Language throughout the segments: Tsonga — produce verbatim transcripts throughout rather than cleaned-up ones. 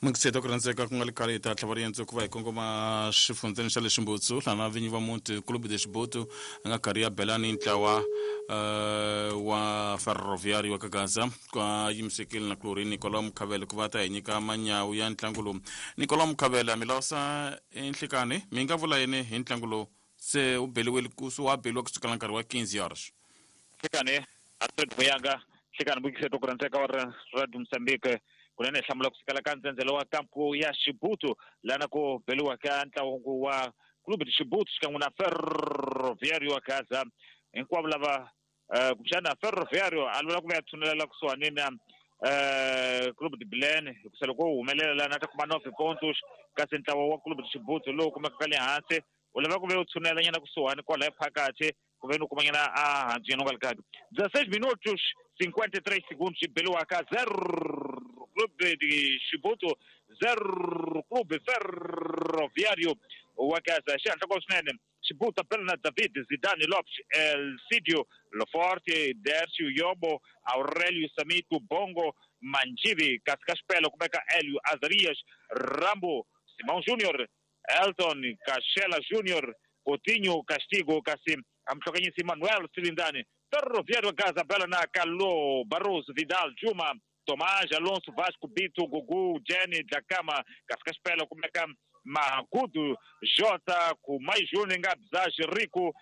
Mukiseta ku rhandzeka ku nga le khale hi ta tlhava riendzo ku va hi kongoma xifundzeni xa le Ximbutsu lana vinyi va muti Clube de Xibutu a nga karhi ya belani ntlawa uh, wa Ferroviário wa Kagaza kwa yimisekile na Chlorine Nicolau Mukhavele ku va ta hi nyika manyawu ya ntlangu lowu. Nicolau Mukhavele mi lawusa enhlekani mi nga vula yini hi ntlangu lowu se u beliwile ku wa beliwa kusukela nkarhi wa quinze horas? Nhlekani Alfred Muyanga, nhlekani Mukiseta ku rhandzeka wa Radio Mozambique kunene hi hlamula kusukela ka ndzhendzelo wa kampu ya Xibutu lana ku beliwa ka ntlangu wa Clube de Xibutu xikan'we na Ferroviário wa Gaza. Hinkwavo lava uh, kumbexana Ferroviário a lwela ku va ya tshunelela kusuhani na uh, Clube de Belém hikusa loko wu humelela lana ta kuma nove pontos, kasi ntlawa wa Clube de Xibutu lowu kumekaka le hansi u lava ku ve u tshunela nyana kusuhani kwalaya phakathi ku ve ni u kuma nyana a hansi nyana u nga li kahle. dezesseis minutos cinquenta e três segundos beliwaka zero Clube de Xibutu zero Clube Ferroviário wa Gaza. Xihatla ko swinene Xibutu bela na David Zidane Lopes, Elcidio Loforte, Dercio Yobo, Aurelio Samito, Bongo Manjivi, kasi ka xipelo kumeka Elio Azarias, Rambo, Simão Júnior, Elton Cachela Júnior, Coutinho Castigo, kasi amhlokanyisi Manuel Silindani. Ferroviário Gaza bela na Calô, Barroso, Vidal, Juma, Tomás, Alonso, Vasco, Bito, Gugu, Jenny, Dlakama, Cascaspela, kumeka Magudo, Jota, Kumai Júnior, Ngabzaj, Rico,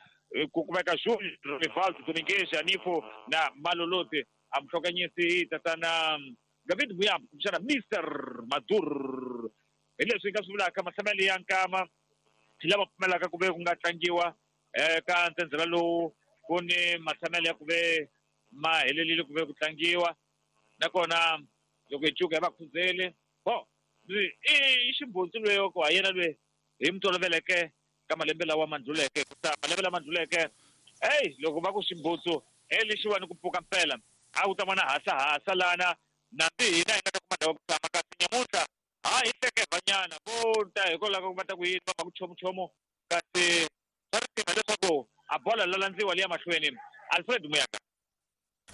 kumeka Júnior, Rivaldo, Domingues, Anifo, na Malolote. Amhlokanyisi tatana David Muyambo, kumbexana Mister Madur. Hi leswi hi nga swi vulaka mahlamelo ya nkama lama pfumelaka ku ve ku nga tlangiwa eka ndzhendzela lowu ku ni matshamelo ya ku ve ma helelile ku ve ku tlangiwa nakona loko hi cuka hi va khuzeli bo i ximbutsu lweyo ku ha yena lwe hi mi toloveleke ka malembe lawa ma ndluleke kusa malembe lama ndluleke eyi loko va ku ximbutsu e lexiwani ku pfuka mpela a ku ta vona hasahasa lana nambi hina hi nga ta kuma ndhawu ku tshama kasi nyamuntlha ha hi hleke vanyana vo ta hikwalaho ka ku va ta ku yini va va ku chomuchomu kasi swa risima leswaku a bola la landziwa liya mahlweni. Alfred Muyaka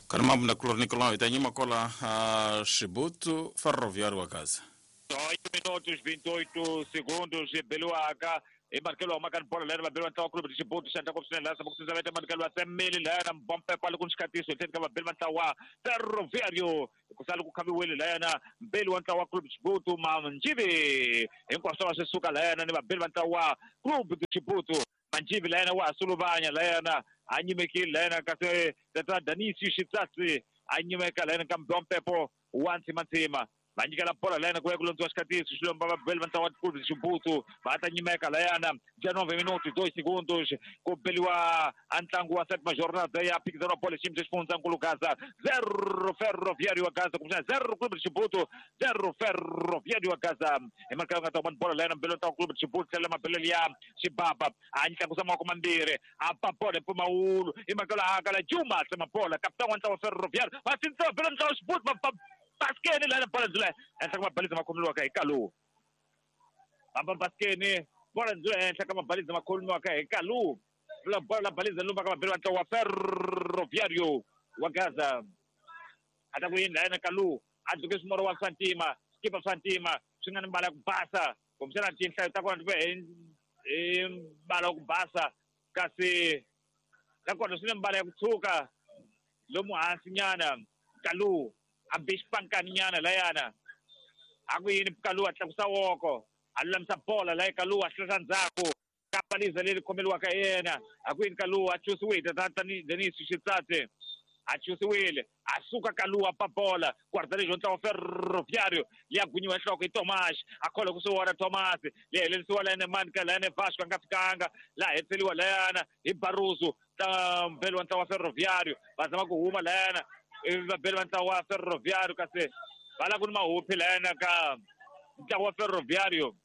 Karima na Nicolau hi ta nyima kola uh, Xibutu Ferroviário wa Gaza. Oito minutos vinte e oito segundos beliwaka hi markelo wa makani bola leri va beliwa ntlawa Clube de Xibutu xa ndhaku swinene laha ku vete markelo wa Semeli layana mbompepo ali ku ni xikatiso hi tlhelo ka vabeli va ntlawa Ferroviário ku sala ku khaviwile layana mbeli wa ntlawa Clube de Xibutu Manjivi hinkwaswo va swi suka layana ni vabeli va ntlawa Clube de Xibutu Manjivi layana wa ha suluvanya layana a nyimekile layana kasi tata Danisi Xitsatsi a nyimeka layana ka mbompepo wa ntsimantsima va nyikela bola layana ku ya ku londziwa xikatiso xilomba vabeli va ntlawa Clube de Xibutu va ta nyimeka layana dezenove minutos dois segundos ku beliwa a ntlangu wa sétima jornada ya phikizano wa bola xiyimo xa xifundzankulu Gaza zero Ferroviário wa Gaza kumbexana zero Clube de Xibutu zero Ferroviário wa Gaza hi marka nga ta vona bola layana mbeli wa ntlawa Clube de Xibutu tlhela mabelelo ya xibaba a tlakusa mavoko mambirhi a ba bola hi mpfumawulo hi marka la kala Juma tsema bola kapitani wa ntlawa Ferroviário va sindzisa vabeli va ntlawa Xibutu va Baskeni lana bola ndzula henhla ka mabalizi ma khomiwaka hi Kalu. Amba Baskeni bola ndzula henhla ka mabalizi ma khomiwaka hi Kalu. La bola la balizi lumba ka mabeli wa ntlawa wa Ferroviário wa Gaza. A ta ku yini layana Kalu a dluke swimoro wa swa ntima xikipa swa ntima swi nga ni mbala ya ku basa kumbexana tinhlayo ta kona ti ve hi mbala wa ku basa kasi nakona swi ni mbala ya ku tshuka lomu hansi nyana Kalu a be xipankani nyana layana a ku yini Kalu a tlakusa woko a lulamisa bola laya Kalu a hlehla ndzhaku ka paliza leri khomeliwaka hi yena a ku yini Kalu a chusiwile tata Denis Xitsatsi a chusiwile a suka Kalu a ba bola guarda-redes wa ntlawa Ferroviário liya gunyiwa nhloko hi Tomás a kholwa ku swi vona Tomás liya helelisiwa layana manika layana Vasco a nga fikanga laha hetiseliwa layana hi Barroso ta mbeli wa ntlawa Ferroviário va zama ku huma layana vabeli va ntlawa wa Ferroviário kasi va la ku ni mahuphi layana ka ntlawa wa Ferroviário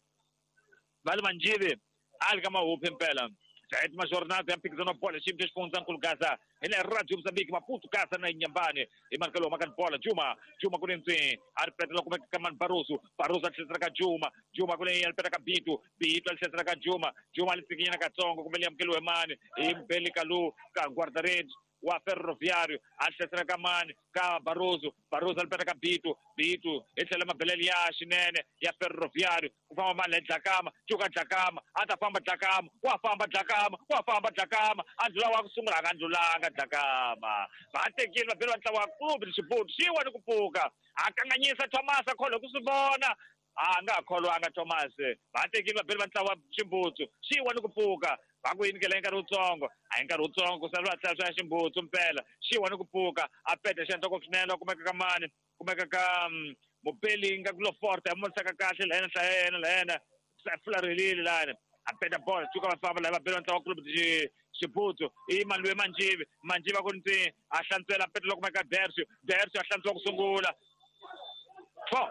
va le Manjivi a li ka mahuphi mpela. Sétima jornada ya mphikizano wa bola xiyimo xa xifundzankulu Gaza hi le Radio Mozambique Maputo Gaza na Inhambane hi markelo wa makani bola Juma Juma ku le ndzeni a ri petela kumeka ka mani Barroso Barroso a tlherisela ka Juma Juma ku le a ri peta ka Bito Bito a tlherisela ka Juma Juma a li tsikinyana katsongo kumbe li amukeliwe mani hi Mbeli Kalu ka guarda-redes wa Ferroviário a hlasela ka mani ka Barroso Barroso a lipeta ka Bito Bito hi tlhela mabelele ya xinene ya Ferroviário ku famba mani le Dlakama cuka Dlakama a ta famba Dlakama wa famba Dlakama wa famba Dlakama a ndlula wa ku sungula a nga ndlulanga Dlakama va tekile vabeli va ntlawa wa Clube de Chibuto xi wa ni ku pfuka a kanganyisa Thomas a kholwa ku swi vona a nga kholwanga Thomas va tekile vabeli va ntlawa Ximbutsu xi wa ni ku pfuka va ku yinikela hi nkarhi wutsongo a hi nkarhi wutsongo ku sala va tlhela swa Ximbutsu mpela xi wa ni ku pfuka a peta xi endla ngopfu swinene kumeka ka mani kumeka ka mupeli nga ku lo forte a monisaka kahle la yena hlaya yena la yena fularhelile lani a peta bola cuka va famba la va bela ntlawa Clube de Chibuto i Maluwe Manjivi Manjivi a ku ntsi a hlantswela peta loko kumeka Dercio Dercio a hlantswa ku sungula four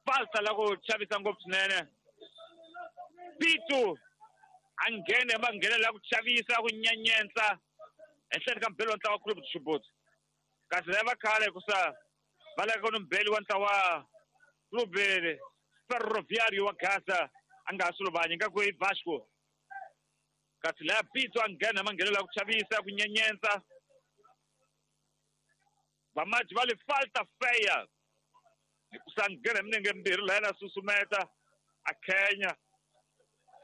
falta la ku chavisa ngopfu swinene Bito a nghene va nghenela ku chavisa ku nyenyentsa ehenhleni ka mbeli wa ntlawa Clube de Chibuto kasi lava khale hikusa va lava ku ni mbeli wa ntlawa Clube Ferroviário wa Gaza a nga ha suluvanyi nga ku i Vasco kasi laya Bito a nghena ma nghenela ku chavisa ku nyenyentsa vamaji va le falta feya hikusa nghena minenge mbirhi la yena susumeta a khenya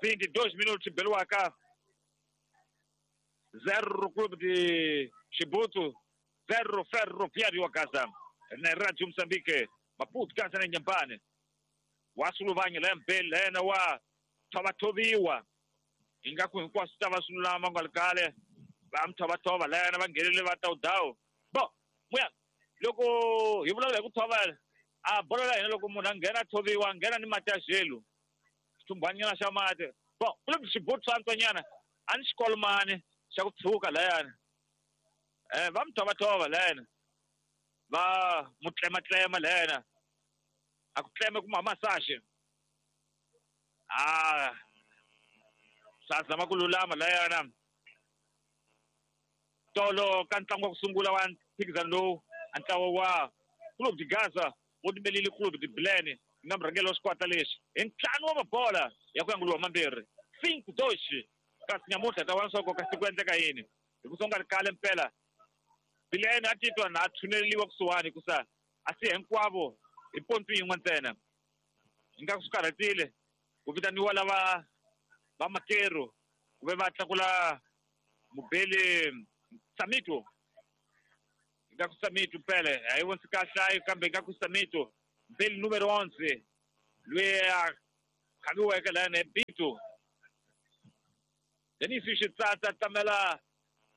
vinte e dois minutos beliwaka zero Clube de Chibuto zero Ferroviário wa Gaza na Radio Moçambique Maputo Gaza na Inhambane wa suluvanya la mbeli la yena wa thovathoviwa ingaku hinkwaswo ta va swi lulama nga ri kale va mi thovathova la yena va nghenele va tawudawu bo muya loko hi vulavula hi ku thovela a bolo la hina loko munhu a nghena a thoviwa a nghena ni mati ya xelu xithumbhanyana xa mati bo Clube de Chibuto swa antswanyana a ni xikolomani xa ku tshuka layani um va mi thovathova layena va mu tlematlema layena a ku tleme kuma massage a swa zama ku lulama layana tolo ka ntlangu wa ku sungula wa mphikizano lowu a ntlawa wa Clube de Gaza wu timelile Clube de Bilene nga murhangeri wa xikwata lexi hi ntlhanu wa mabola ya ku yanguliwa mambirhi cinco dois kasi nyamuntlha ta vona swa ku kasi ku endleka yini hi ku songa ri kale mpela Bilene a titwa na a tshuneleliwa kusuhani hikusa a si hinkwavo hi pontu yin'we ntsena ingaku swi karhatile ku vitaniwa lava va makeru ku ve va tlakula mubeli Samito ingaku Samito mpele a yi vonisi kahle ayi kambe ingaku Samito mbeli numero onze loyi a khaviweke layana hi Bito Denis Xitsatsa tamela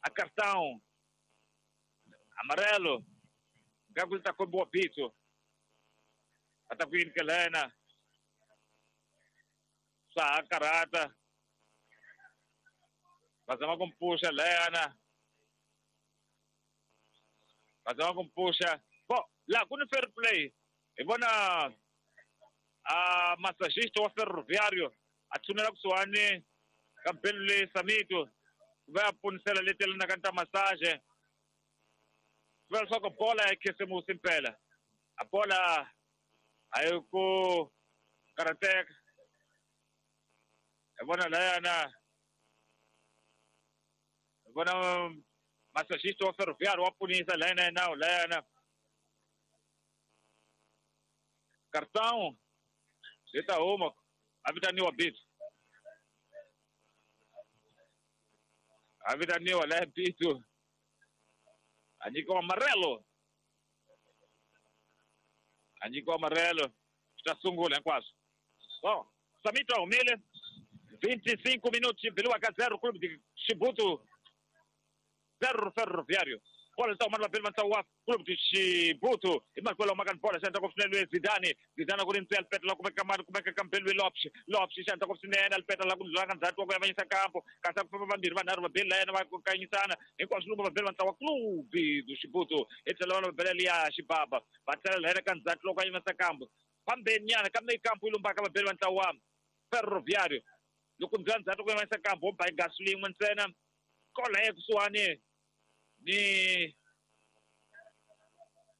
a cartão amarelo ingaku li ta kombiwa Bito a ta ku yinikela yena swa ha karhata va zama ku mi pfuxa layana va zama ku mi pfuxa bo laha ku ni fair play hi vona a massagista wa Ferroviário a tshunela kusuhani ka mpelu leyi Samito ku va ya ponisela leti yelanaka ta massage ku va leswaku bola ya khisimusi mpela a bola a yi ku karhateka hi vona layana hi vona massagista wa Ferroviário wa punisa layana ya nawu layana cartão ri ta huma a vitaniwa Bito a vitaniwa laya Bito a nyikiwa amarelo a nyikiwa amarelo swi ta sungula hinkwaswo so Samito a humile vinte e cinco minutos beliwaka zero Clube de Chibuto zero Ferroviário bola ta huma vabeli va ntlawa wa Clube de Chibuto hi makwelo maka ni bola xi endla ngopfu swinene Zidane Zidane ku ri ntswi alipeta la kumeka mani kumeka ka mbeli Lopes Lopes xi endla ngopfu swinene alipeta la ku ndlula ka ndzhaku wa ku yavanyisa kampo kasi ku famba vambirhi vanharhu vabeli la yena va kanyisana hinkwaswo loko vabeli va ntlawa Clube de Chibuto hi tlhela vona vabela liya Xibaba va tlhela la yena ka ndzhaku loko a yimisa kampo fambeni nyana kambe kampo yi lumbaka vabeli va ntlawa Ferroviário loko ndlula ndzhaku ku yimisa kampo wo ba gasu lin'we ntsena kola ya kusuhani ni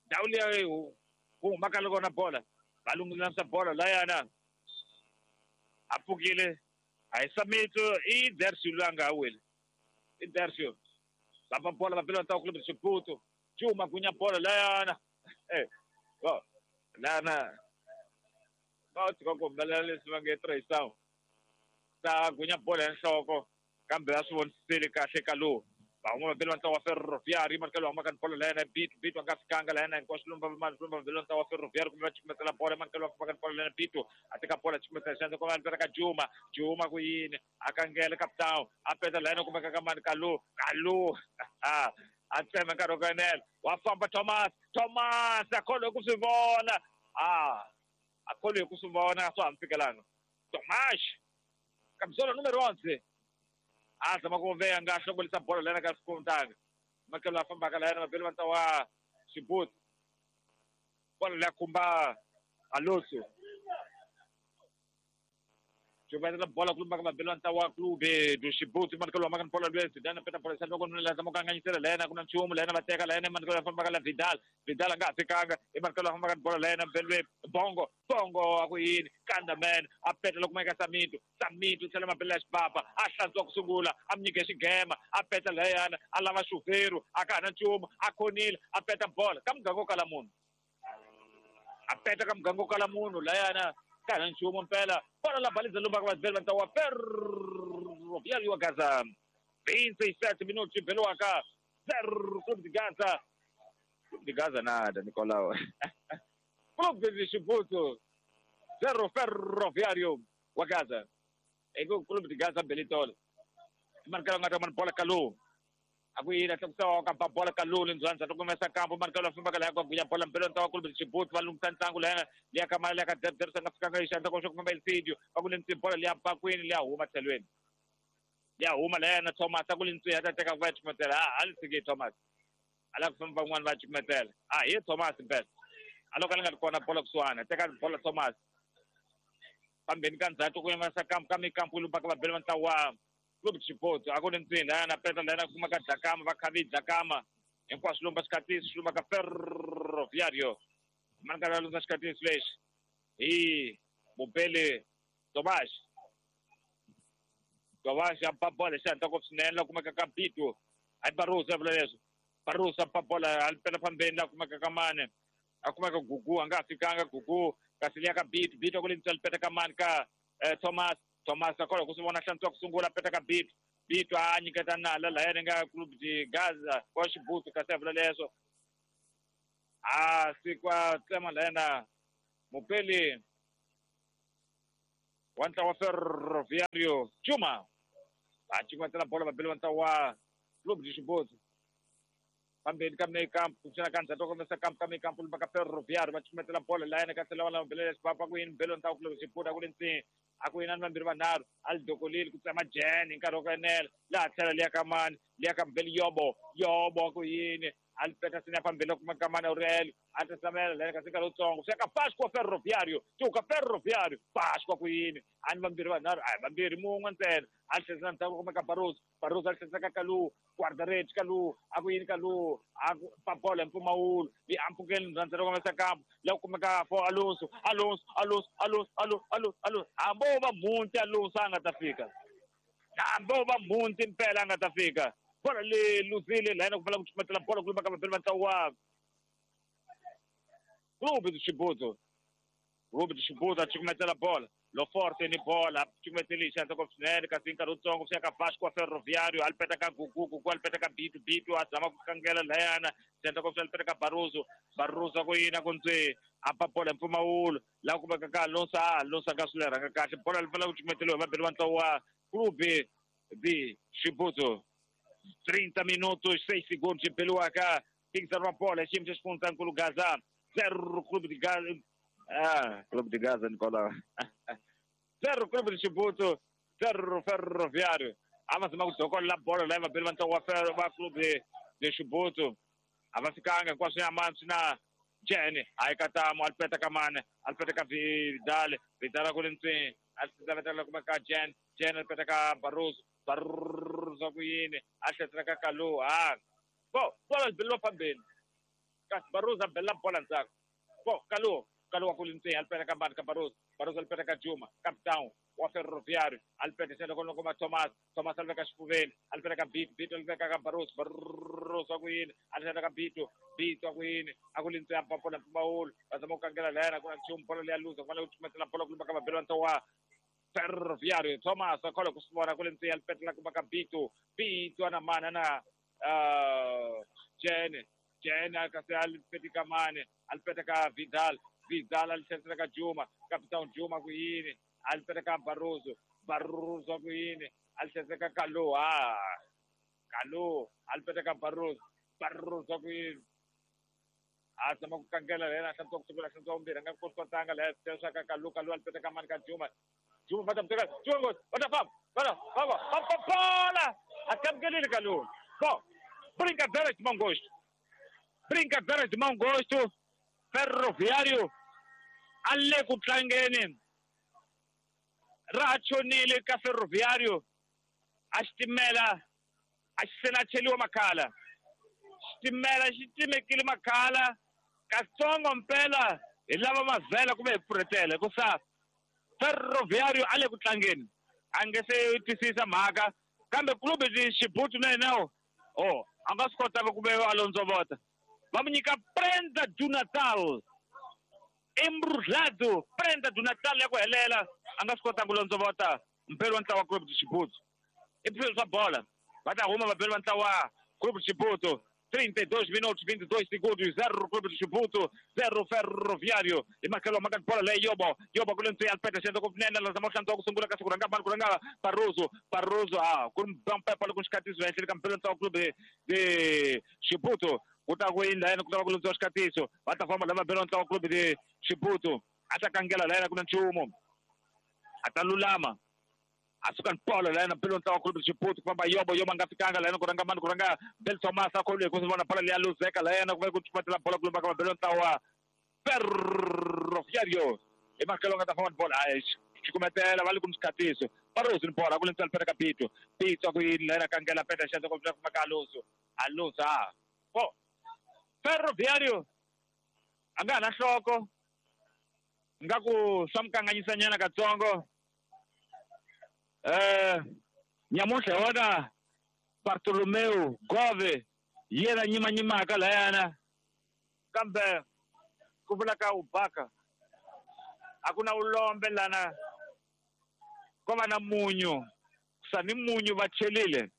ndhawu liya ku humaka loko na bola va lunghilamisa bola layana a pfukile a hi Samito i Dercio loyi a nga ha weli Intercio va bola va bela ntlawa Clube de Chibuto Juma gunya bola layana eh bo lana va tshika ku humelela leswi va nge trayisao ta gunya bola ya nhloko kambe a swi voniseli kahle ka lowu va huma va bela ntlawa wa Ferroviário manikelo huma ka bola layana Bito Bito a nga fikanga layana hinkwaswo lumba lumba bela ntlawa wa Ferroviário kumbe va chukumetela bola manikelo wa ka bola layana Bito a teka bola chukumetela xandla ku va mpela ka Juma Juma ku yini a kangela capitão a peta layana kumbe ka mani Kalu Kalu a tsema nkarhi wo kanela wa famba Thomas Thomas a kholwe ku swi vona a a kholwe ku swi vona swa ha mi fikelanga Thomas camisola numero onze a zama ku veya nga hlongolisa bola lena ka sikontanga makelo a fambaka layena mabeli va ntlawa Chibuto bola leya khumba Alonso Chubatela bola kulumba ka mabeli va ntlawa Clube do Chibuto manikelo wa makani bola lwe Zidane peta bola xandla ku nuna zama ku kanganyisela layena ku na nchumu layena va teka layena manikelo ya fambaka la Vidal Vidal a nga ha fikanga i manikelo ya fambaka bola layena mbelwe Bongo Bongo a ku yini kanda man a peta loko kumeka Samito Samito tlhela mabeli ya xipapa a hlantswa ku sungula a mi nyike xigema a peta layana a lava xuveru a ka ha na nchumu a khonile a peta bola ka muganga wo kala munhu a peta ka muganga wo kala munhu layana ka ha na nchumu mpela bola la baliza lumba ka vazibeli va ntlawa Ferroviário wa Gaza vinte e sete minutos beliwaka zero Clube de Gaza Clube de Gaza nada Nicolau Clube de Chibuto zero Ferroviário wa Gaza eko Clube de Gaza belitola markelo nga ta bola Kalu a ku yini a tlakusa ka ba bola Kalu lindzwanza to kumesa kampo markelo famba ka la ku gunya bola mbelo ntlawa Clube de Chibuto va lunghisa ntlangu layana liya ka mali ya ka Derdersa nga fikanga hi xandla ko xo famba Elcidio va ku lentswi bola liya bakwini liya huma tlhelweni liya huma layana Thomas a ku lentswi ya ta teka ku va chukumetela a a li tshiki Thomas a lava ku famba van'wani va chukumetela a hi Thomas mpela a loko a li nga ri kona bola kusuhana teka bola Thomas pambeni ka ndzhaku ku yimasa kampo ka mikampo lumba ka vabeli va ntlawa Clube de Chibuto a ku ri ntsini layana peta layana kuma ka Dlakama va khavi Dlakama hinkwaswo lumba xikatisi swi lumba ka Ferroviário manikelo ya lundza xikatisi lexi hi mubeli Tomas Tomas a ba bola xi hatla ngopfu swinene la kumeka ka Bito hayi Barroso ya vula leswo Barroso a ba bola a pela phambeni la kumeka ka mane a kumeka Gugu a nga ha fikanga Gugu kasi liya ka Bito Bito ku lentswa lipeta ka mani ka Thomas Thomas a kholwa ku swi vona hlantswa ku sungula peta ka Bito Bito a nyiketa nala layani nga Clube de Gaza wa Chibuto kasi a vula leswo a sikwa tsema layana mupeli wa ntlawa Ferroviário Juma a cukumetela bola vabeli va ntlawa Clube de Chibuto pambeni ka mekampo kuxana ka ndzhaku komesa kampo ka mekampo lumba ka Ferroviário va cukumetela bola layana ka tlhela va lava bela xipapa ku yini belo ntlawa Clube de Chibuto a ku le ntsini a ku yinani vambirhi vanharhu a li dokolile ku tsema Jen hi nkarhi wo enela laha tlhela liya ka mani liya ka mbeli Yobo Yobo a ku yini a li peta sini ya phambili kuma ka mani Aurelio a tsamela layana kasi nkarhi wutsongo swi ya ka Vasco Ferroviário tuka Ferroviário Vasco a ku yini a ni vambirhi vanharhu a hi vambirhi mun'we ntsena a li tlherisela ndzhaku kuma ka Barroso Barroso a li tlherisela ka Kalu guarda-redes Kalu a ku yini Kalu a ku pa bola hi mpfumawulo yi ampfukeni ndzhandzhelo komesa kampo la ku kumeka for Alonso Alonso Alonso Alonso Alonso Alonso Alonso hambi wo va mhunti Alonso a nga ta fika hambi wo va mhunti mpela a nga ta fika bola le luzile layana ku pfala ku chukumetela bola ku lumba ka vabeli va ntlawa Clube de Chibuto Clube de Chibuto a chukumetela bola Lo Forte ni bola chukumetele xandla ngopfu swinene kasi nkarhi wutsongo swi ya ka Vasco Ferroviário a li peta ka Gugu Gugu a li peta ka Bito Bito a zama ku kangela layana xandla ngopfu a li peta ka Barroso Barroso ku yini a ku ntswi a ba bola hi mpfumawulo laha kumeka ka Alonso a Alonso a nga swi lerhanga kahle bola li pfala ku chukumeteliwa hi vabeli va ntlawa Clube de Chibuto trinta minutos seis segundos beliwaka phikizano wa bola xiyimo xa xifundzankulu Gaza zero Clube de Gaza ah Clube de Gaza Nicolau zero Clube de Chibuto zero Ferroviário a va zama ku dokolela bolo laha vabeli va ntlangu wa Ferro va Clube de Chibuto a va fikanga hinkwaswo ya mani swi na Jen a yi katamo a li peta ka mane a li peta ka Vidal Vidal a ku le ntswini a li kuma ka Jen Jen a li peta ka Barroso Barroso ku yini a tlherisela ka Kalu a bo bola li beliwa phambeni kasi Barroso a belela bola ndzhaku bo Kalu Kalu wa ku le ntswini a li peta ka mani ka Barroso Barroso a li peta ka Juma Capitão wa Ferroviário alipeta xana kona kuma Thomas Thomas aliveka xifuveni alipeta ka Bito Bito aliveka ka Barroso Barroso ku yini alipeta ka Bito Bito ku yini a ku lintse ya papola mpfumawulo va zama ku kangela layana ku na nchumu bolo leya luza ku fanele ku cukumetela bolo ku lumba ka vabeli va ntlawa Ferroviário Thomas a khola ku swi vona ku lintse ya alipetela kuma ka Bito Bito ana mana na Jene Jene kasi alipeti ka mane alipeta ka Vidal Vidal alisenzela ka Juma Capitão Juma ku yini alipeta ka Barroso Barroso ku yini alisenzela ka Kalu ah Kalu alipeta ka Barroso Barroso ku yini a zama ku kangela lena hlantswa ku sungula hlantswa vumbirhi a nga koti ku tlanga leya sweswa ka Kalu Kalu alipeta ka mani ka Juma Juma va ta mu teka Juma nghozi va ta famba va ta famba famba bola a kamukelile Kalu bom brincadeira de mau gosto brincadeira de mau gosto Ferroviário a le ku tlangeni ra chonile ka Ferroviário a xitimela a xi se na cheliwa makhala xitimela xi timekile makhala katsongo mpela hi lava mavhela kumbe hi pfurhetela hikusa Ferroviário a le ku tlangeni a nge se twisisa mhaka kambe clube de Chibuto na yena oh a nga swi kotanga ku ve a londzovota va mu nyika prenda do Natal embrulhado prenda do Natal ya ku helela a nga swi kotanga ku londzovota mpelo wa ntlawa Clube de Chibuto i swilo swa bola va ta huma vabeli va ntlawa Clube de Chibuto trinta e dois minutos vinte e dois segundos zero Clube de Chibuto zero Ferroviário i makelo maka bola leyi yobo yobo ku le ntswi alpeta xendla ku nene la zama hlantswa ku sungula kasi ku rhanga mani ku rhanga Barroso Barroso a ku ri mpepa loko xikatiso ehenhleni ka mpelo ntlawa Clube de Chibuto ku ta ku yini layena ku ta va ku lundziwa xikatiso va ta famba lava bela ntlawa Clube de Chibuto a ta kangela layena ku na nchumu a ta lulama a suka ni polo layena belo ntlawa Clube de Chibuto ku famba yobo yobo a nga fikanga layena ku rhanga mani ku rhanga Bel Thomas a kholiwe ku swi vona bola leya luzeka layena ku va ku cukumetela bola ku lumba ka vabelo ntlawa Ferroviário i makelo nga ta famba ni bola a cukumetela va le ku xikatiso Barroso ni bola ku le ntswalo peta ka Bito Bito ku yini layena kangela peta xandla ku famba ka Alonso Alonso a po Ferroviário a nga ha na nhloko nga ku swa mu kanganyisanyana katsongo eh nyamuntlha hi wona Bartolomeu Gove yena nyimanyimaka layana kambe ku vula ka ubaka a ku na ulombe lana ko va na munyu sa ni munyu va chelile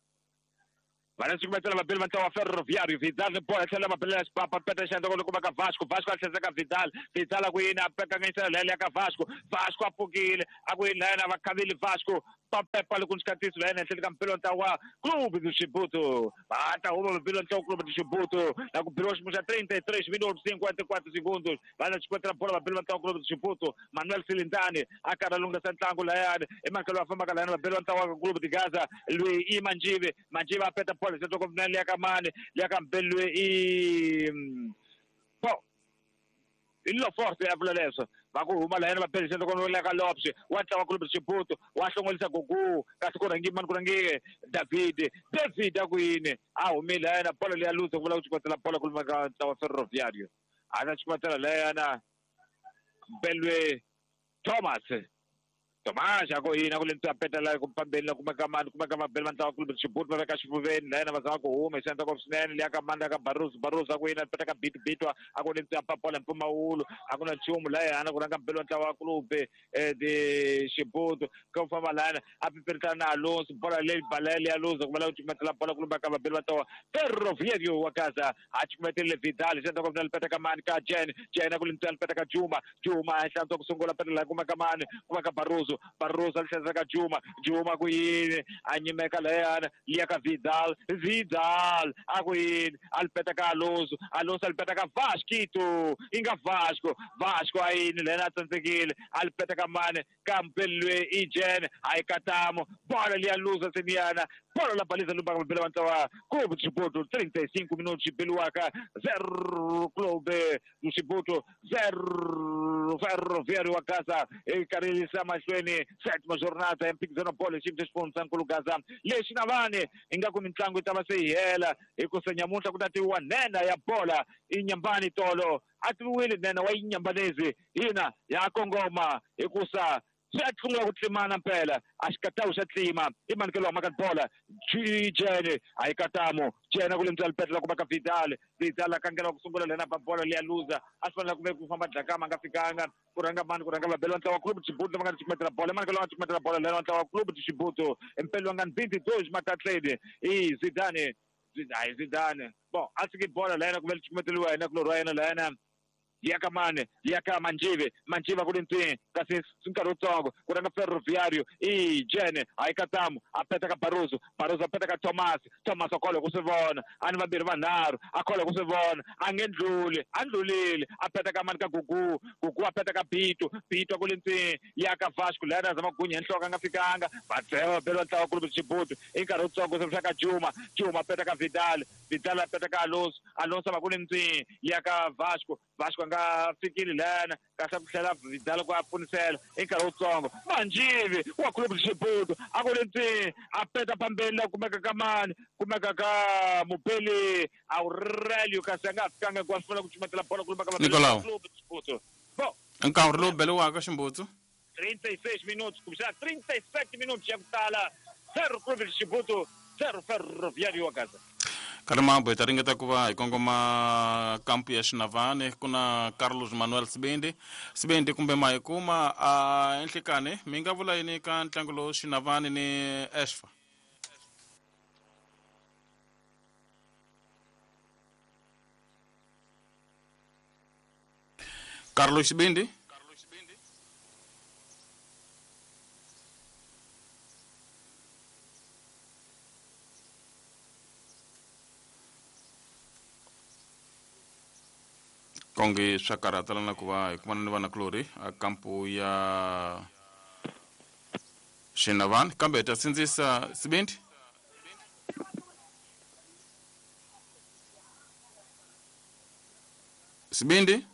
va na cukumetela vabeli va ntlawa Ferroviário Vidal ni bola tlhela va belela xipapa peta xandla ku kuma ka Vasco Vasco a tlhela ka Vidal Vidal a ku yini a kanganyisela leya ka Vasco Vasco a pfukile a ku yini layena va khavile Vasco papepa loko xikatiso layena ehenhleni ka mpelo ntlawa Clube do Chibuto va ta huma mpelo ntlawa Clube do Chibuto na ku beriwa xiyimo xa trinta e três minutos cinquenta e quatro segundos va na xikwetela bola vabeli va ntlawa Clube do Chibuto Manuel Silindani a karhi a lunghisa ntlangu layani emakelo va fambaka layana vabeli va ntlawa Clube de Gaza lweyi i Manjive Manjive a peta bola xandla ku liya ka mani liya ka mbeli lweyi i po i lo forte ya vula leswo va ku huma layena va beli xandla ku liya ka Lopes wa ntlawa Clube de Chibuto wa hlongolisa Gugu kasi ku rhangi mani ku rhangi David David a ku yini a humile layena bola leya luza ku vula ku cukumetela bola ku luma ka ntlawa Ferroviário a ta cukumetela layena Belwe Thomas Thomas a ku yini a ku le ntwa petela ku pambeni la kuma ka mani kuma ka mabeli va ntlawa Clube de Chibuto va veka xifuveni layena va zama ku huma hi xandla ku swinene liya ka mani ka Barroso Barroso a ku yini a peta ka Bito Bito a ku le ntwa papola mpfumawulo a ku na nchumu layana ku rhanga mbeli wa ntlawa Clube de Chibuto ka ku famba layana a pipiritana na Alonso bola leyi bala leya luza ku va la ku cukumetela bola ku lumba ka vabeli va ntlawa Ferroviário wa Gaza a cukumetelile Vidal xandla ku na peta ka mani ka Jen Jen a ku le ntwa peta ka Juma Juma a hlantswa ku sungula petela kuma ka mani kuma ka Barroso Barroso a ka Juma Juma ku yini a nyimeka layana liya ka Vidal Vidal a ku yini a lipeta ka Alonso Alonso a lipeta ka Vasquito inga Vasco Vasco a yini lena a tsandzekile a lipeta ka mani ka mpelwe i Jen a yi katamo bola liya luza seniyana bola la baliza lumba ka mabele va ntlawa Clube de Chibuto trinta e cinco minutos beliwaka zero Clube do Chibuto zero Ferroviário wa Gaza i karhi yisa mahlweni sétima jornada ya mphikizano bolo xiyimo xa xifundzankulu Gaza lexi na vani ingaku mitlangu yi ta va se yi hela hikusa nyamuntlha ku ta tiviwa nhenha ya bola i Nyambani tolo a tiviwile nhenha wa Inyambanezi hina ya kongoma hikusa Se a sungula ku tlimana mpela a xikatawu xa tlima i manikelo wa maka bola jene a yi katamo jene ku lemisa lipetla ku va ka Vidal Vidal a kangela ku sungula lena ba bola leya luza a swi fanele ku ve ku famba dlakama a nga fikanga ku rhanga mani ku rhanga vabeli va ntlawa club Chibuto va nga cukumetela bola manikelo wa cukumetela bola lena wa ntlawa club Chibuto mpelo wa nga vinte e dois matatleni i Zidane hayi Zidane bon a tshiki bola lena ku ve cukumeteliwa yena kulorhi wa yena lena ya mane ya ka Manjive Manjive ku ntwi kasi nkarhi wutsongo ku rhanga Ferroviario i Jene hayi Katamu a peta ka Barroso Barroso a peta ka Thomas Thomas a kholwa ku swi vona a ni vambirhi vanharhu a kholwa ku swi vona a nge ndluli a ndlulile a peta ka mani ka Gugu Gugu a peta ka Bito Bito ku ntwi ya ka Vasco lera zama gunya nhloko a nga fikanga va dzewa belo ntlawa ku Chibuto i nkarhi wutsongo se ka Juma Juma a peta ka Vidal Vidal a peta ka Alonso Alonso va ku ntwi ya ka Vasco Vasco nga fikile lana kahle ku tlhela Vidal ku a pfunisela i nkarhi wutsongo Manjive wa club Chibuto a ku ntwi a peta phambeni la kumeka ka mani kumeka ka Mupeli Aurelio kasi a nga fikanga ku a fanele ku cumatela bola ku lumba ka Nicolau club Chibuto bon nkarhi lowu beliwaka Ximbudzo trinta e seis minutos kumbexana trinta e sete minutos ya ku tala zero club Chibuto zero Ferroviário wa Gaza. Karimambo hi ta ringeta ku va hi kongoma kampu ya Xinavane ku na Carlos Manuel Sibindi Sibindi kumbe ma hi kuma a enhlekani mi nga vula yini ka ntlangu lowu Xinavane ni Ashfa? Carlos Sibindi konge swa karhatela na ku va hi kumana ni vanakulorhi a kampu ya Xinavane kambe hi ta sindzisa Sibindi Sibindi